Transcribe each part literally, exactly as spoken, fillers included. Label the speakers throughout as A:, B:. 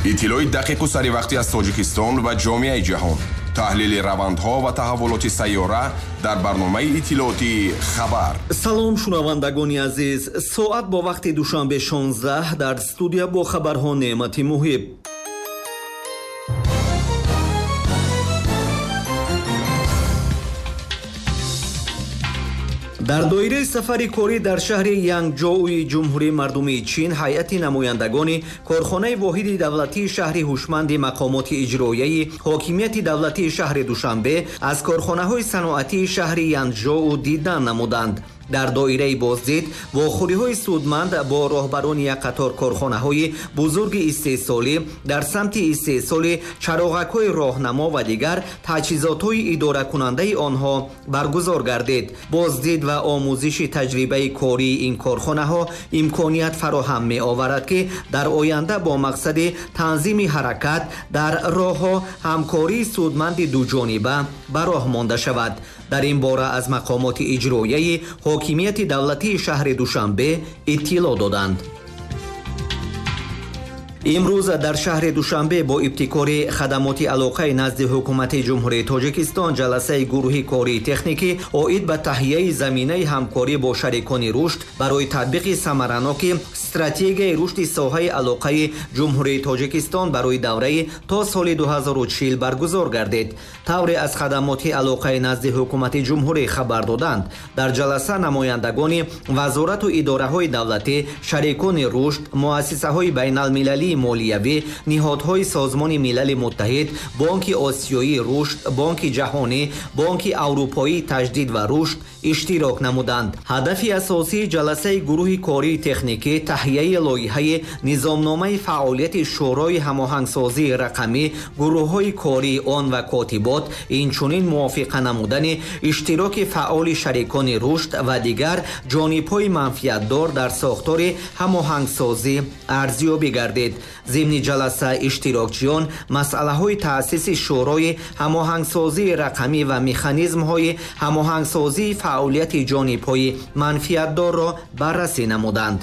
A: Иттилои дақиқу саривақтӣ аз Тоҷикистон ва ҷомеаи ҷаҳон, таҳлили равандҳо ва таҳаввулоти сайёра дар барномаи иттилоотии «Хабар».
B: Салом, шунавандагони азиз. Соат бо вақти Душанбе шонздаҳ, дар студия бо хабарҳо Неъмати Муҳиб. Дар доираи сафари корӣ дар шаҳри Янгҷоуи Ҷумҳурии Мардумии Чин, ҳайати намояндагони корхонаи воҳиди давлатии шаҳри ҳушманди мақомоти иҷроияи ҳокимияти давлатии шаҳри Душанбе аз корхонаҳои саноатии шаҳри Янҷоу дидан намуданд. Дар доираи боздид вохӯриҳои судманд бо роҳбарони як қатор корхонаҳои бузурги истеҳсолӣ дар самти истеҳсоли чароғакҳои роҳнамо ва дигар таҷҳизотҳои идоракунандаи онҳо баргузор гардид. Боздид ва омӯзиши таҷрибаи кории ин корхонаҳо имконият фароҳам меоварад, ки дар оянда бо мақсади танзими ҳаракат дар роҳҳо ҳамкории судманди дуҷониба ба роҳ монда шавад. Дар ин бора аз мақомоти иҷроияи ҳокимияти давлатии шаҳри Душанбе иттилоъ доданд. Имрӯз дар шаҳри Душанбе бо ибтикори хадамоти алоқаи назди ҳукумати Ҷумҳурии Тоҷикистон ҷаласаи гурӯҳи кории техникӣ оид ба таҳияи заминаи ҳамкорӣ бо шарикони рушд барои татбиқи самараноки стратегияи рушди соҳаи алоқаи Ҷумҳурии Тоҷикистон барои давраи то соли ду ҳазору чил баргузор гардид. Тавре аз хадамоти алоқаи назди ҳукумати ҷумҳурӣ хабар доданд, дар ҷаласа намояндагони вазорату идораҳои давлатӣ, шарикони рушд, муассисаҳои байналмилалии молиявӣ, ниҳодҳои Созмони Милали Муттаҳид, Бонки Осиёии рушд, Бонки Ҷаҳонӣ, Бонки Аврупоии таҷдид ва рушд иштирок намуданд. Ҳадафи асосии ҷаласаи гурӯҳи кории техникӣ таҳияи лоиҳаи низомномаи фаъолияти Шӯрои ҳамоҳангсозии рақамӣ, гурӯҳҳои кории он ва котибот, инчунин мувофиқа намудани иштироки фаъоли шарикони рушд ва дигар ҷонибҳои манфиатдор дар сохтори ҳамоҳангсозӣ арзёбӣ гардид. Зимни ҷаласа иштирокчиён масъалаҳои таъсиси Шӯрои ҳамоҳангсозии рақамӣ ва механизмҳои ҳамоҳангсозии фаъолияти ҷонибҳои манфиатдорро баррасӣ намуданд.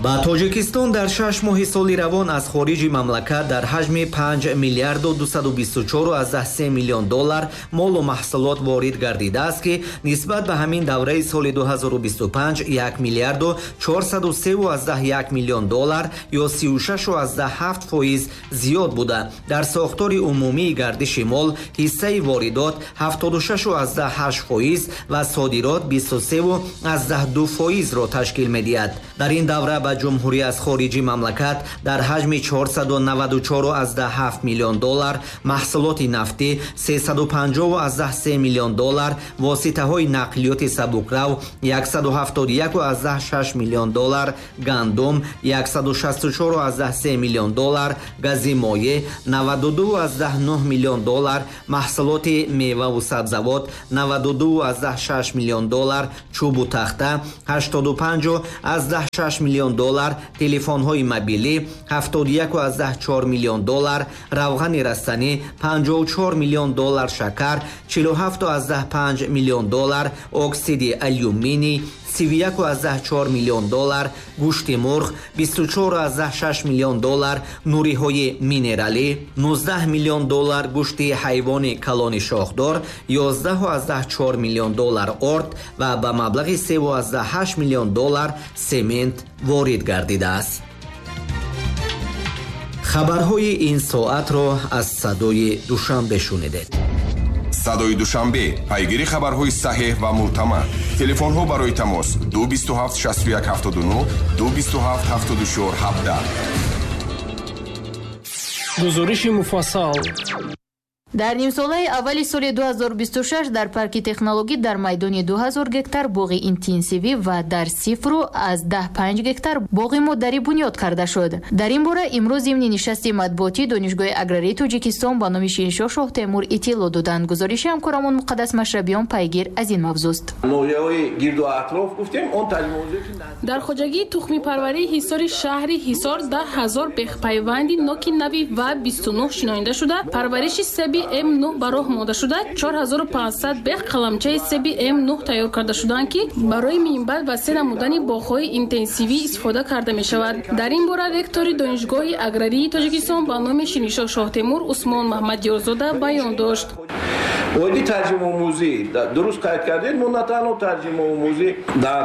B: Ба Тоҷикистон дар шаш моҳи соли равон аз хориҷи мамлакат дар ҳаҷми панҷ миллиарду дусаду бисту чору се миллион доллар молу маҳсулот ворид гардидааст, ки нисбат ба ҳамин давраи соли ду ҳазору бисту панҷ як миллиарду чорсаду се як миллион доллар ё сию шаш ҳафт фоиз зиёд буда, дар сохтори умумии гардиши мол ҳиссаи воридот ҳафтоду шаш ҳашт фоиз ва содирот бисту се ду фоизро ташкил медиҳад. Дар ин давра ба ҷумҳурӣ аз хориҷи мамлакат дар ҳаҷми чорсаду наваду чор ҳафт миллион доллар маҳсулоти нафтӣ, сесаду панҷоҳ се миллион доллар воситаҳои нақлиёти сабукрав, яксаду ҳафтоду як шаш миллион доллар гандум, яксаду шасту чор се миллион доллар гази моеъ, наваду ду нӯҳ миллион доллар маҳсулоти меваву сабзавот, наваду ду шаш миллион доллар чӯбу тахта, ҳаштоду панҷ шаш миллион доллар телефонҳои мобилӣ, ҳафтоду як чор миллион доллар равғани растанӣ, панҷоҳу чор миллион доллар шакар, чилу ҳафт панҷ миллион доллар оксиди алюминий, сию як чор миллион доллар гӯшти мурғ, бисту чор шаш миллион доллар нуриҳои минералӣ, нуздаҳ миллион доллар гӯшти ҳайвони калони шохдор, ёздаҳ чор миллион доллар орд ва ба маблағи се ҳашт миллион доллар семент ворид гардидааст. Хабарҳои ин соатро аз Садои Душанбе шунидед.
A: Садои Душанбе, пайгири хабарҳои саҳеҳ ва мӯътамад. Телефонҳо барои тамос: дусаду бисту ҳафт шасту як ҳафтоду нӯҳ, дусаду бисту ҳафт ҳафтоду чор ҳабдаҳ.
C: Гузориши муфассал.
D: Дар нимсолаи аввали соли ду ҳазору бисту шаш дар парки технологӣ дар майдони ду ҳазор гектар боғи интенсивӣ ва дар сифру аз даҳ панҷ гектар боғи модарӣ бунёд карда шуд. Дар ин бора имрӯз зимни нишасти матбуотӣ Донишгоҳи аграрии Тоҷикистон ба номи Шириншоҳ Шоҳтемур иттилоъ доданд. Гузориши ҳамкорамон Муқаддас Машрабиён пайгир аз ин мавзӯст.
E: Ноҳияҳои гирду атроф гуфтем, он
F: Дар хоҷагии тухмипарварии Ҳисори шаҳри Ҳисор даҳ ҳазор бехпайванди ноки нави ва бисту нӯҳ шинонида шуда, парвариши себи М нӯҳ ба роҳ монда шуда, чор ҳазору панҷсад бех қаламчаи себи М нӯҳ тайёр карда шудаанд, ки барои минбаъд васеъ намудани боғҳои интенсивӣ истифода карда мешавад. Дар ин бора ректори Донишгоҳи аграрии Тоҷикистон ба номи Шириншоҳ Шоҳтемур Усмон Маҳмадёрзода баён дошт.
E: Оиди тарҷимаомӯзӣ дуруст қайд кардед, мо на танҳо тарҷимаомӯзӣ дар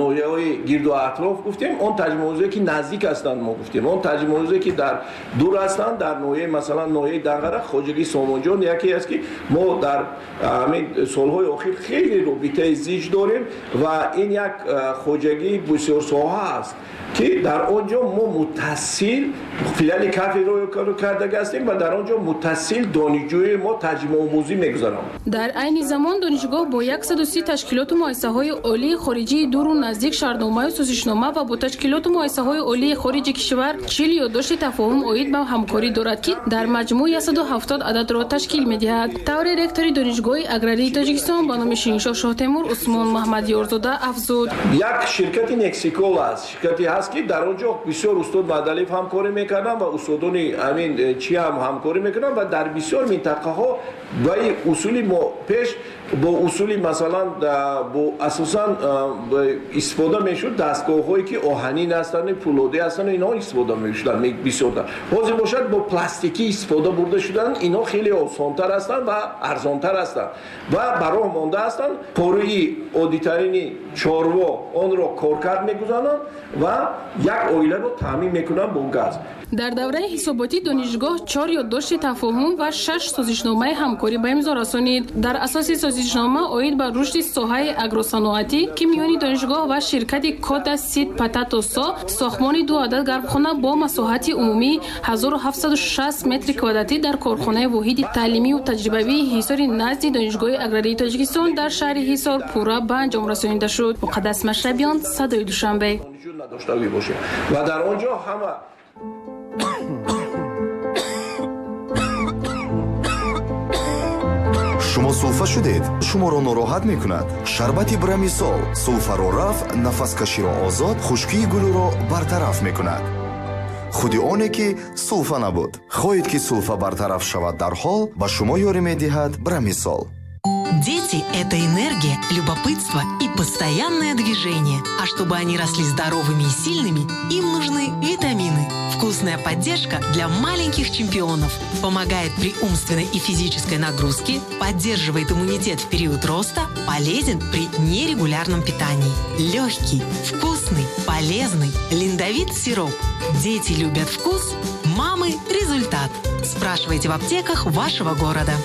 E: ноҳияҳои гирду атроф гуфтем, он тарҷимаомӯзие ки наздик ҳастанд мо гуфтем, он тарҷимаомӯзие ки дар дур ҳастанд, дар ноҳияи масалан ноҳияи Данғара, хоҷагии Сомонҷон яке аст ки мо дар ҳамин солҳои охир хеле робитаи зич дорем ва ин як хоҷагии бисёрсоҳа аст ки дар он ҷо мо мутасил филиали кафедраро карда ҳастем ва дар он ҷо мутасил донишҷӯи мо тарҷимаомӯзӣ мегузаронанд.
F: Дар айни замон донишгоҳ бо яксаду си ташкилоту муассисаҳои олии хориҷии дуру наздик шартномаю созишнома ва бо ташкилоту муассисаҳои олии хориҷи кишвар чил ёддошти тафоҳум оид ба ҳамкорӣ дорад, ки дар маҷмӯъ яксаду ҳафтод ададро ташкил медиҳад. Тавре ректори Донишгоҳи аграрии Тоҷикистон ба номи Шириншоҳ Шоҳтемур Усмон Маҳмадёрзода афзуд:
E: як ширкати Нексикол аст, ширкате ҳаст ки дар он ҷо бисёр устод Маҳдалиев ҳамкорӣ мекарданд ва устодони ҳамин чи ҳам ҳамкорӣ мекунанд ва дар бисёр минтақаҳо ба усули мо пеш бо усули масалан бо асосан истифода мешуд дастгоҳҳое ки оҳанин ҳастанд, пулодӣ ҳастанд, инҳо истифода мешуданд бисёртар. Ҳозир бошад бо пластикӣ истифода бурда шуданд, инҳо хеле осонтар ҳастанд ва арзонтар ҳастанд ва ба роҳ монда ҳастанд. Пораи оддитарини чорво онро коркард мегузаронанд ва як оиларо таъмин мекунанд бо газ.
F: Дар давраи ҳисоботӣ донишгоҳ чор ёддошти тафоҳум ва шаш созишномаи ҳамкорӣ ба имзо расонид. Дар асоси созишнома оид ба рушди соҳаи агросаноатӣ, ки миёни донишгоҳ ва ширкати Кода Сид Пататосо сохтмони ду адад гармхона бо масоҳати умумии ҳазору ҳафтсаду шаст метри квадратӣ дар корхонаи воҳиди таълимию таҷрибавии Ҳисори назди Донишгоҳи аграрии Тоҷикистон дар шаҳри Ҳисор пурра ба анҷом расонида шуд. Муқаддас Машрабиён, Садои Душанбе.
E: Ва дар он ҷо ҳама
G: Шумо сулфа шудед, шуморо нороҳат мекунад. Шарбати Брамисол сулфаро рафъ, нафаскаширо озод, хушкии гулӯро бартараф мекунад. Худи оне ки сулфа набуд. Хоҳед ки сулфа бартараф шавад дарҳол, ба шумо ёрӣ медиҳад Брамисол.
H: Дети – это энергия, любопытство и постоянное движение. А чтобы они росли здоровыми и сильными, им нужны витамины. Вкусная поддержка для маленьких чемпионов. Помогает при умственной и физической нагрузке, поддерживает иммунитет в период роста, полезен при нерегулярном питании. Легкий, вкусный, полезный. Линдовит сироп. Дети любят вкус, мамы – результат. Спрашивайте в аптеках вашего города.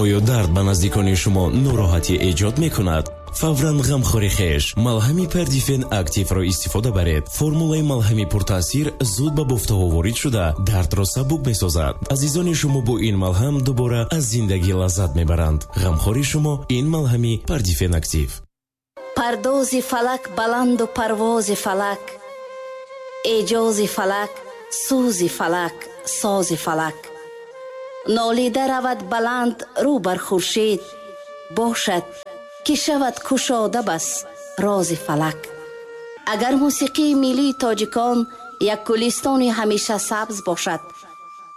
I: Оё дард ба наздикони шумо нороҳатӣ эҷод мекунад? Фавран ғамхори хеш малҳами Пердифен Активро истифода баред. Формулаи малҳами пуртаъсир зуд ба бофтаҳо ворид шуда, дардро сабук месозад. Азизони шумо бо ин малҳам дубора аз зиндагӣ лаззат мебаранд. Ғамхори шумо ин малҳами Пердифен Актив.
J: Пардози фалак баланду парвози фалак, эҷози фалак, сӯзи фалак, сози фалак. Нолида равад баланд рӯ бар хуршед, бошад ки шавад кушода бас рози фалак. Агар мусиқии миллии тоҷикон як гулистони ҳамеша сабз бошад,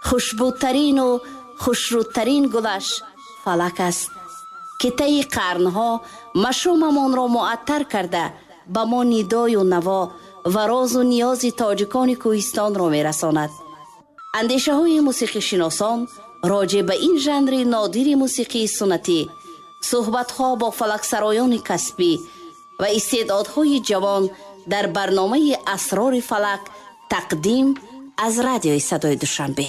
J: хушбӯтарину хушрӯдтарин гулаш фалак аст, ки таи қарнҳо машомамонро муаттар карда ба мо нидою наво ва розу ниёзи тоҷикони кӯҳистонро мерасонад. Андешаҳои мусиқишиносон роҷеъ ба ин жанри нодири мусиқии суннатӣ, суҳбатҳо бо фалаксароёни касбӣ ва истеъдодҳои ҷавон дар барномаи Асрори фалак тақдим аз радиои Садои Душанбе.